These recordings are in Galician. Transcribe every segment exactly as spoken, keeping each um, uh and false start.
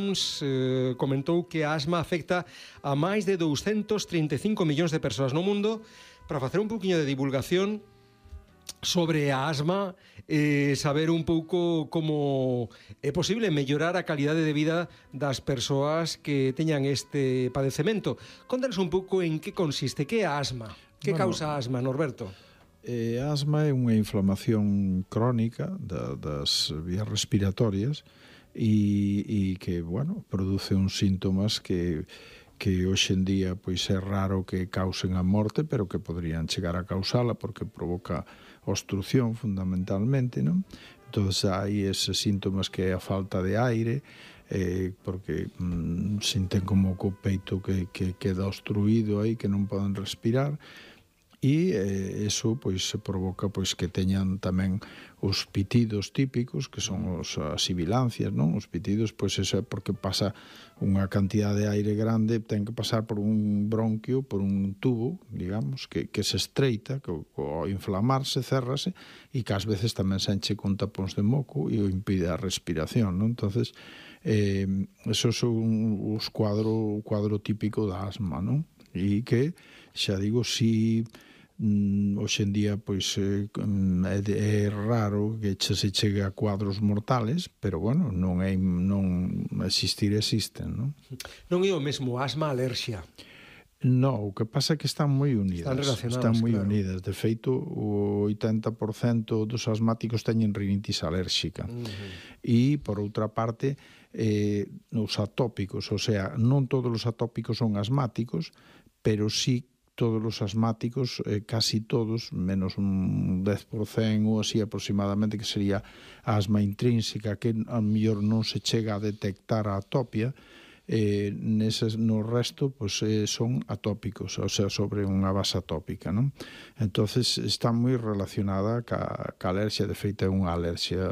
Oms eh, comentou que a asma afecta a máis de douscentos trinta e cinco millóns de persoas no mundo. Para facer un pouquiño de divulgación sobre a asma, eh, saber un pouco como é posible mellorar a calidade de vida das persoas que teñan este padecemento. Contanos un pouco en que consiste, que é a asma, que bueno, causa a asma, Norberto? Eh, a asma é unha inflamación crónica da, das vías respiratorias e, e que, bueno, produce uns síntomas que que hoxe en día pois é raro que causen a morte, pero que podrían chegar a causala porque provoca obstrucción fundamentalmente, non? Entón hai eses síntomas que é a falta de aire, eh, porque mm, sinten como co peito que, que queda obstruído aí, que non poden respirar, e eh, eso pois se provoca pois que teñan tamén os pitidos típicos, que son os, as sibilancias, non? Os pitidos, pois eso é porque pasa unha cantidade de aire grande, ten que pasar por un bronquio, por un tubo, digamos, que, que se estreita, que ao inflamarse, cerrase, e que ás veces tamén se enche con tapóns de moco e o impide a respiración, non? Entonces, eh, esos son os cuadro, o cuadro típico da asma, non? E que, xa digo, si mm, hoxe en día pois é, é raro que se chegue a cuadros mortales, pero bueno, non é non existir existen, non? Non é o mesmo asma alerxia. No, o que pasa é que están moi unidas. Están relacionadas, están moi claro. unidas. De feito, o oitenta por cento dos asmáticos teñen rinitis alérxica. Uh-huh. E, por outra parte, eh, os atópicos, o sea, non todos os atópicos son asmáticos, pero sí todos os asmáticos, eh, casi todos, menos un dez por cento ou así aproximadamente, que sería a asma intrínseca, que a mellor non se chega a detectar a atopia, eh, neses, no resto pues, eh, son atópicos, o sea, sobre unha base atópica, non? Entonces está moi relacionada ca, ca alerxia, de feito é unha alerxia,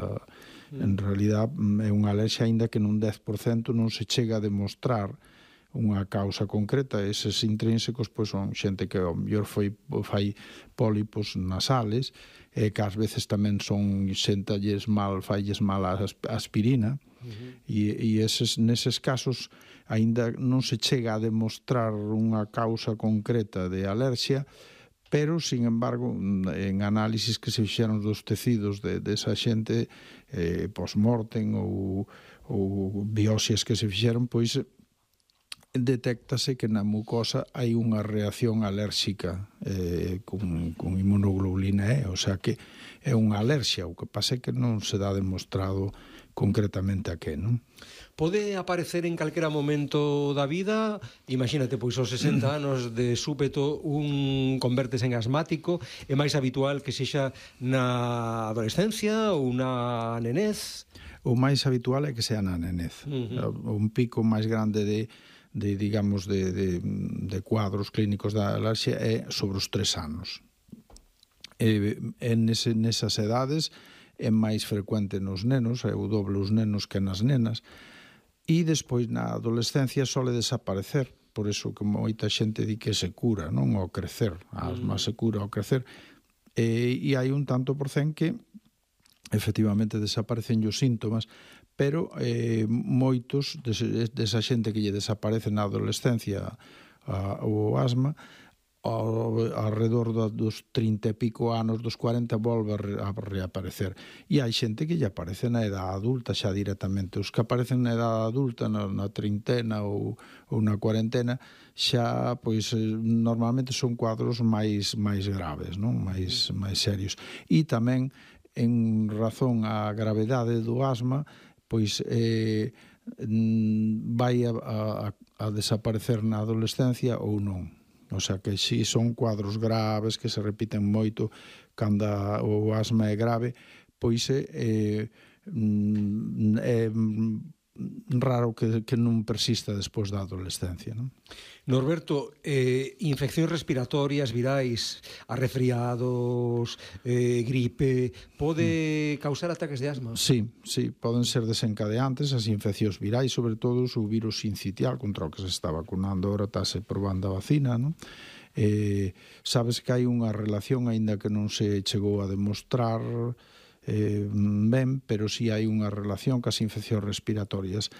mm. en realidad é unha alerxia aínda que nun dez por cento non se chega a demostrar unha causa concreta. Eses intrínsecos pois, son xente que ao mellor foi, fai pólipos nasales, e que ás veces tamén son xentalles mal, failles mal a aspirina, uh-huh. e, e eses, neses casos aínda non se chega a demostrar unha causa concreta de alerxia, pero, sin embargo, en análisis que se fixeron dos tecidos de, de esa xente, eh, post-mortem ou, ou biopsias que se fixeron, pois detéctase que na mucosa hai unha reacción alérxica eh, con, con inmunoglobulina E, o sea que é unha alerxia, o que pasa é que non se dá demostrado concretamente a que, non? Pode aparecer en calquera momento da vida, imagínate, pois aos sesenta anos de súpeto un convertes en asmático, é máis habitual que sexa na adolescencia ou na nenez? O máis habitual é que sea na nenez. Uh-huh. Un pico máis grande de de, digamos, de, de, de cuadros clínicos da alerxia é sobre os tres anos. E, en ese, nesas edades é máis frecuente nos nenos, é o doble os nenos que nas nenas, e despois na adolescencia sole desaparecer, por iso que moita xente di que se cura, non ao crecer, a asma se cura ao crecer, e, e hai un tanto por cen que efectivamente desaparecen os síntomas, pero eh, moitos desa xente que lle desaparece na adolescencia a, o asma, ao, alrededor dos trinta e pico anos, dos cuarenta, volve a, re, a reaparecer. E hai xente que lle aparece na edad adulta xa directamente. Os que aparecen na edad adulta, na, na trintena ou, ou na cuarentena, xa, pois, normalmente son cuadros máis, máis graves, non? Máis, máis serios. E tamén, en razón á gravedade do asma, pois eh, vai a, a, a desaparecer na adolescencia ou non. O sea que si son cuadros graves que se repiten moito cando o asma é grave, pois é, é, é raro que, que non persista despois da adolescencia, non? Norberto, eh, infeccións respiratorias, virais, arrefriados, eh, gripe, pode mm. causar ataques de asma? Sí, sí, poden ser desencadeantes as infeccións virais, sobre todo o virus sincitial contra o que se está vacunando, ahora estáse probando a vacina, non? Eh, sabes que hai unha relación, aínda que non se chegou a demostrar eh, ben, pero sí hai unha relación cas infeccións respiratorias.